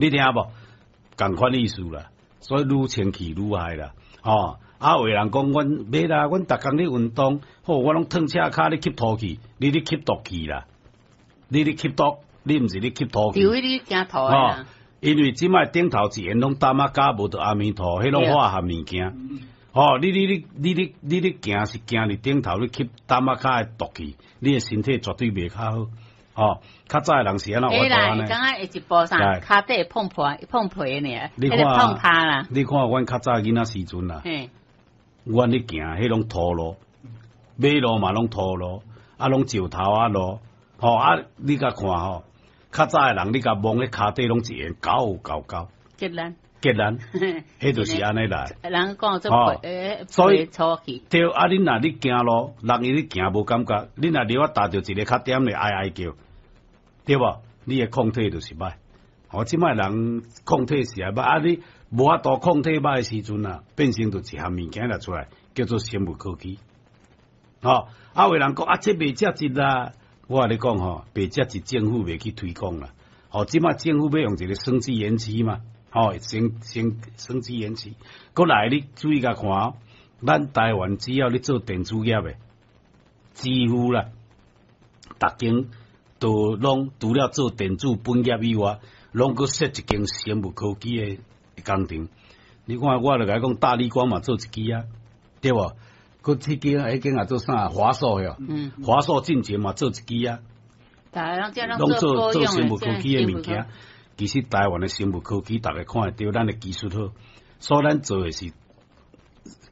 你聽無？仝款意思啦，所以愈清氣愈害啦，吼！啊，有人講阮袂啦，阮逐工咧運動，好，我攏褪赤跤咧吸土氣，你咧吸毒氣啦，你咧吸毒，你毋是咧吸土氣。除非你驚土啦。因為這擺頂頭一緣攏淡仔膠，無著阿彌陀，彼攏化學物件。吼，你行是行佇頂頭，你吸淡仔膠的毒氣，你的身體絕對袂較好。吼，較早的人是按怎活會啦，感覺會一步啥，跤底會碰破碰皮呢，你看碰趴啦。你看阮較早囡仔時陣啦，阮咧行，彼攏土路，馬路嘛攏土路，啊攏石頭仔路，吼啊！你共看吼，較早的人你共摸彼跤底攏一緣厚厚厚。結力。結力，彼就是按呢來。人講做所以粗氣。對啊，恁若咧行路，人伊咧行無感覺，恁若著啊踏著一个較點的，哀哀叫，對無？你的抗體就是歹。哦，這擺人抗體是會歹，啊你無法度抗體歹的時陣啊，變成就一項物件來出來，叫做生物科技。吼，啊有人講啊，這袂食質啦，我共你講吼，袂食質政府袂去推廣啦。吼，這擺政府欲用一个生技園區嘛，吼，生技園區，閣來你注意共看，咱台灣只要你做電子業的，幾乎啦，逐間都攏除了做電子本業以外，攏閣設一間生物科技的工廠。你看，我就共你講，大立光嘛做一支啊，對無？閣這間彼間也做啥？華碩喲，華碩進前嘛做一支啊，攏做生物科技的物件。其實台灣的生物科技，逐家看會著，咱的技術好，所以咱做的是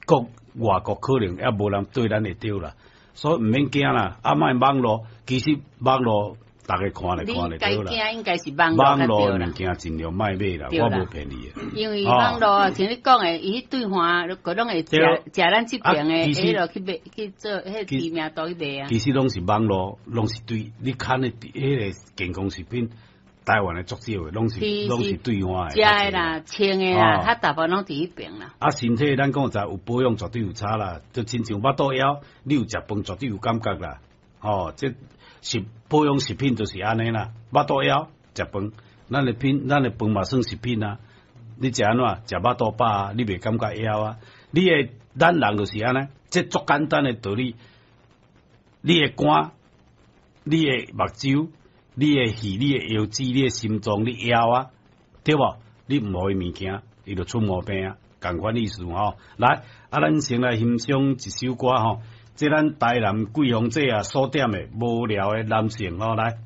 國外國可能猶無人對咱會著啦，所以毋免驚啦。啊，莫網路，其實網路逐家看咧看咧著啦。你驚應該是網網路的物件盡量莫買啦，我無騙你。因為網路像你講的，伊對岸閣攏會食食咱這邊的，彼落去賣去做彼知名度去賣啊。其實攏是網路，攏是對你看的彼个健康食品。台灣的足少的，攏是對岸的。食的啦，穿的啦，較大部分攏佇彼爿啦。啊，身體咱講實有保養，絕對有差啦。就親像腹肚枵，你有食飯絕對有感覺啦。吼，這是保養食品就是按呢啦。腹肚枵食飯，咱的飯嘛算食品啊。你食按怎？食腹肚飽啊，你袂感覺枵啊。你的咱人就是按呢，這足簡單的道理。你的肝，你的目睭，你的肺、你的腰子、你的心臟、你枵啊，對無？你毋予伊物件，伊就出毛病啊，仝款意思吼。來，啊，咱先來欣賞一首歌吼，這咱台南桂芳姐啊所點的無聊的男性吼，來。